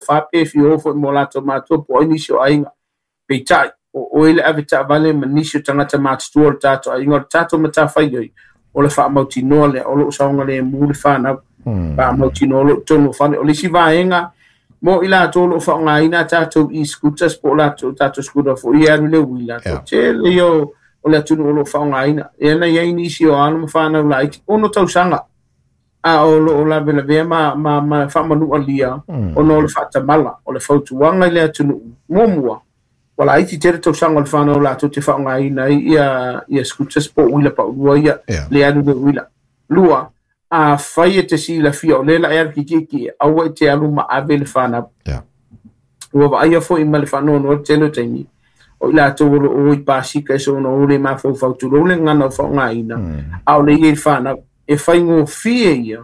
fa pe fia o foi mo latou matua po o ai nisi o aiga. Peitai, o oe le avetaavale ma nisi o tagata matutua o le tatou aiga, o le tatou matafaioi, o le faamautinoa lea o lo o saogalemu le fanau. Faamautinoa o lo o i totonu o fale. O le isi vaega mo i latou o lo o faaaogaina a tatou e-scooters po o latou tatou scooter foi ia e alu i le uila, toatele ia o le atunuu o lo o faaaogaina. Lea na i ai nisi o alo ma fanau laiti, 6 tausaga, a o lo o lavelavea ma, ma, ma faamanualia ona o le faatamala. O le fautuaga i le atunuu, muamua, ua laiti tele tausaga o le fanau latou te faaaogaina ai ia, ia scooters po o uila paulua ia, le alu le uila. Lua, afai e te silafia o lea la e alu kikiki, aua e te alu ma ave le fanau. Ua vaaia foi ma le faanoanoa le tele o taimi, o i latou o lo o o i pasika e soona o le mafaufau tulou le gagana o faaaogaina, a o le i ai le fanau. E faigofie ia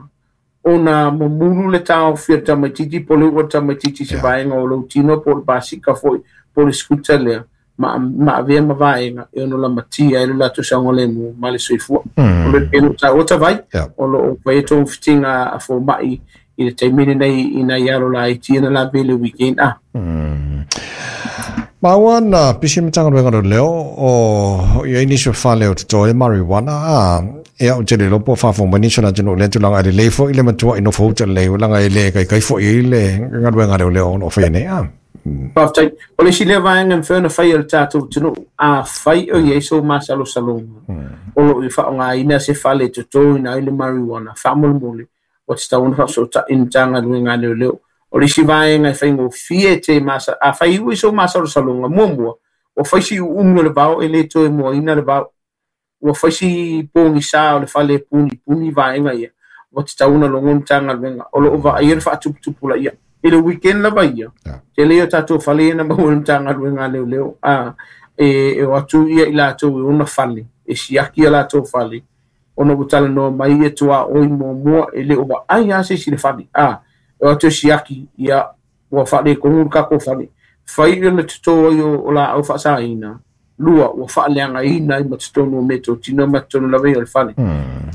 ona mumulu le taofi o le tamaitiiti po o le u'u o le tamaitiiti i se vaega o lou tino po o le pasika foi po o le scooter lea ma, ma avea ma vaega e ono lamatia ai lo latou saogalemu ma le soifua. O le pei ona taua tavai, o lo o faia togafitiga a fomai i le taimi lenei i nai alo laiti ia na lave i le weekend a. Maua na pisi Matagaluega o Leoleo o i ai nisi o fale o totoe marijuana a ia ou te le iloa po o faafofoga mai nisi o le atunuu i lea tulaga e lelei foi le matua i nofo uta lelei leaga e le kaikai foi i le galuega a leoleo o lo o faia nei a. Faafetai. O le isi lea vaega e mafai ona fai e le tatou atunuu, afai o i ai sou masalosaloga o lo o i faaaogaina se fale e totoina ai le marijuana, faamolemole, ua tatau ona faafesootai i le Matagaluega a Leoleo. O le isi vaega e faigofie te masa, afai e iu i sou masalosaloga, muamua, ua fai si uumi o le vao e le toe moaina le vao. Ua fai si pogisa o le fale e punipuni vaega ia, ua tatau ona logo le Matagaluega. O lo o vaaia le faatuputupulaia. I le weekend lava ia, tele ia o tatou fale ia na maua e le Matagaluega a Leoleo, a, e o atu ia i latou e ona fale, e siaki a latou fale, ona ua talanoa mai ia tuaoi muamua e le o vaai lava se isi i le fale, a, e o atu e siaki, ia, ua faaletonu le tatou fale. Fai le toto ai o laau faasaina, lua, ua faaleagaina ai ma totonu o meatotino ma totonu lava ia o le fale.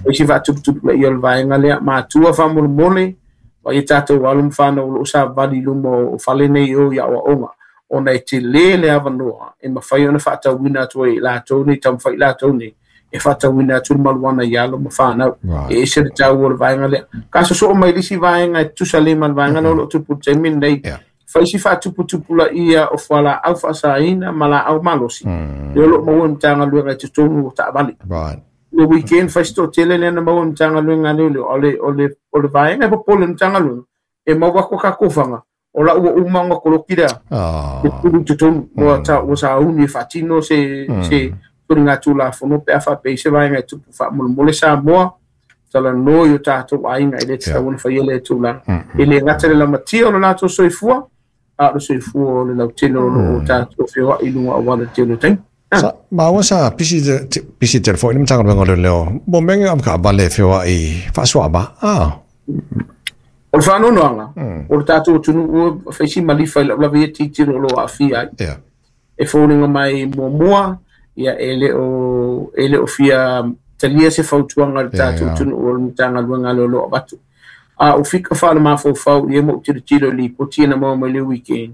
O isi faatuputupulaia o le vaega lea, matua faamolemole, vaai a tatou alo ma fanau o lo o savali i luma o fale nei o i aoaoga, ona e tele le avanoa e mafai ona faatauina atu ai e latou nei, taumafai i latou nei, e faatauina atu le maluana i alo ma fanau. E ese le taua o le vaega lea. Ka sosoo mai le isi vaega e tutusa lelei ma le vaega lea o lo o tupu i le taimi lenei. Fai si faatuputupulaia o fualaau faasaina ma laau malosi, lea o lo o maua e le Matagaluega i totonu o taavale. Le weekend fai si toatele lea na maua e le Matagaluega a Leoleo, a o le vaega e popole i le Matagaluega, e maua atu a tatou faga, o la ua uma ona koloki lea le pulu i totonu, ua ua sauni e faatino se se soligatulafono pe a faapea i se vaega e tupu. Faamolemole Samoa, talanoa i o tatou aiga e le tatau ona faia lea tulaga. E le gata i le lamatia o le latou soifua, a o le soifua o le lautele o lo o tatou feoai i luga auala i le tele o taimi. Sa, maua sa pisi pisi tele foi le Matagaluega o Leoleo mo mea nei o avetaavale e feoai faasuaava a. O le faanoanoaga, o le tatou atunuu ua fai si malifa i lau lava ia tilotilo o lo o aafia ai. E foliga mai muamua, ia e le o fia talia se fautuaga a le tatou atunuu o le Matagaluega a Leoleo avatu. A o fika faalemafaufau ia ma ou tilotilo i lipoti ia na maua mai le weekend,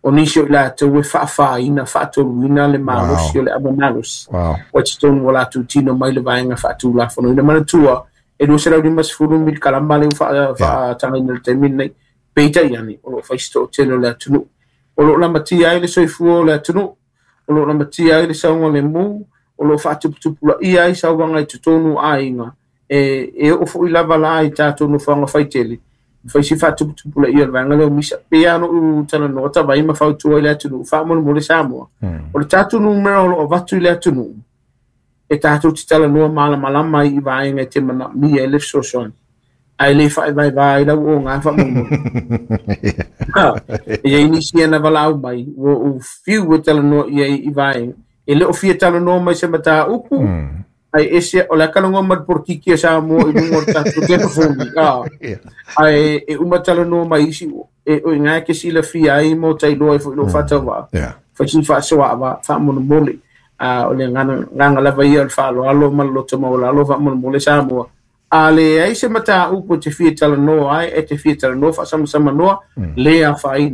o nisi o i latou e faafaina, faatoluina le malosi o le ava malosi. Ua totonu o latou tino mai le vaega faatulafonoina. Manatua, e 250 milikalama lea ua faatagaina i le taimi lenei. Peitai ane, o lo o fai si toatele o le atunuu. O lo o lamatia ai le soifua o le atunuu, o lo o lamatia ai le saogalemu, o lo o faatuputupulaia ai sauaga i totonu o aiga, e oo foi lava la i tatou nofoaga faitele, fai si faatuputupulaia o le vaega lea o misa. Pei lava ona ou talanoa tavai ma fautua i le atunuu, faamolemole Samoa. O le tatou numera o lo o avatu i le atunuu, e tatou te talanoa malamalama ai i vaega e te manaomia ai le fesoasoani, ae le faaevaeva ai lau oga faamolemole. E i ai nisi ia na valaau mai, ua ou fiu e talanoa i ai i vaega. E le o fia talanoa mai se mataupu, ai ese o le talanoa mai le polokiki a Samoa i luga o le tatou telefoni. Ae e uma talanoa mai isi, e o i ngā ke silafia ai mo tailoa ai foi lo faatauvaa. Fai si faasoaava faamolemole. A o le agaga lava ia o le faaaloalo ma le loto maualalo faamolemole Samoa. A leai se mataupu e te fia talanoa ai, e te fia talanoa faasamsamanoa, le afaina.